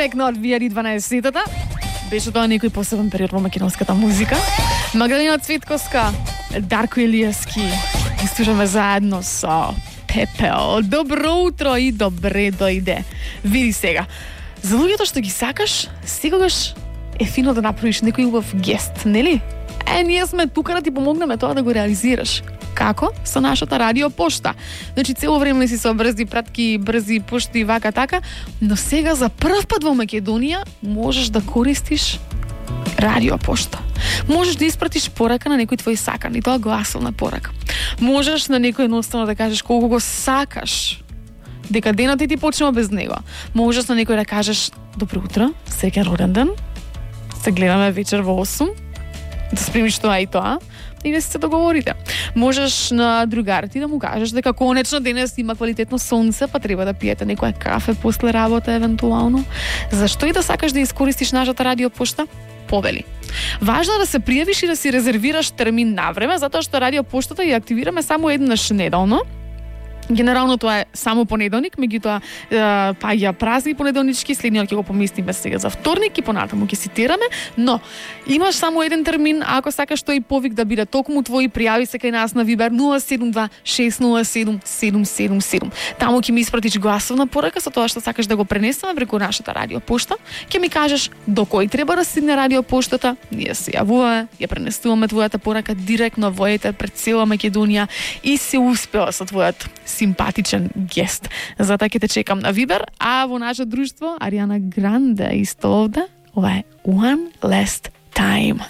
директно од VR12-тата. Беше тоа некој посебен период во македонската музика. Магдалина Цветковска, Дарко Илиевски. И слушаме заедно со Пепел. Добро утро и добре дојде. Види сега. За луѓето што ги сакаш, секогаш е фино да направиш некој убав гест, нели? Ние сме тука да ти помогнеме тоа да го реализираш. Како? Со нашата радиопошта. Значи, цело време си со брзи пратки, брзи пошти, вака така, но сега за прв пат во Македонија можеш да користиш радиопошта. Можеш да испратиш порака на некој твој сакан, и тоа гласовна порака. Можеш на некој едноставно да кажеш колку го сакаш, дека денот ти почнува без него. Можеш на некој да кажеш добро утро, среќен роден ден, се гледаме вечер во 8, да спремиш тоа и тоа, и да се договорите. Можеш на другар ти да му кажеш дека конечно денес има квалитетно сонце, па треба да пиете некоја кафе после работа евентуално. Зашто и да сакаш да искористиш нашата радиопошта? Повели. Важно е да се пријавиш и да си резервираш термин на време, затоа што радиопоштата ја активираме само еднаш неделно. Генерално тоа е само понеделник, меѓутоа паѓа празник понеделнички, следниот ќе го поместиме сега за вторник и понатаму ќе цитираме, но имаш само еден термин, ако сакаш тој повик да биде токму твој, пријави се кај нас на Viber 072-607-777. Таму ќе ми испратиш гласовна порака со тоа што сакаш да го пренесеме преку нашата радиопошта, ќе ми кажеш до кој треба да стигне радиопоштата, ние се јавуваме, ја пренесуваме твојата порака директно во етер пред цела Македонија и се успеа со твојот симпатичен гест. Затоа ќе те чекам на Viber, а во наше друштво Ариана Гранде исто овде. Ова е One Last Time.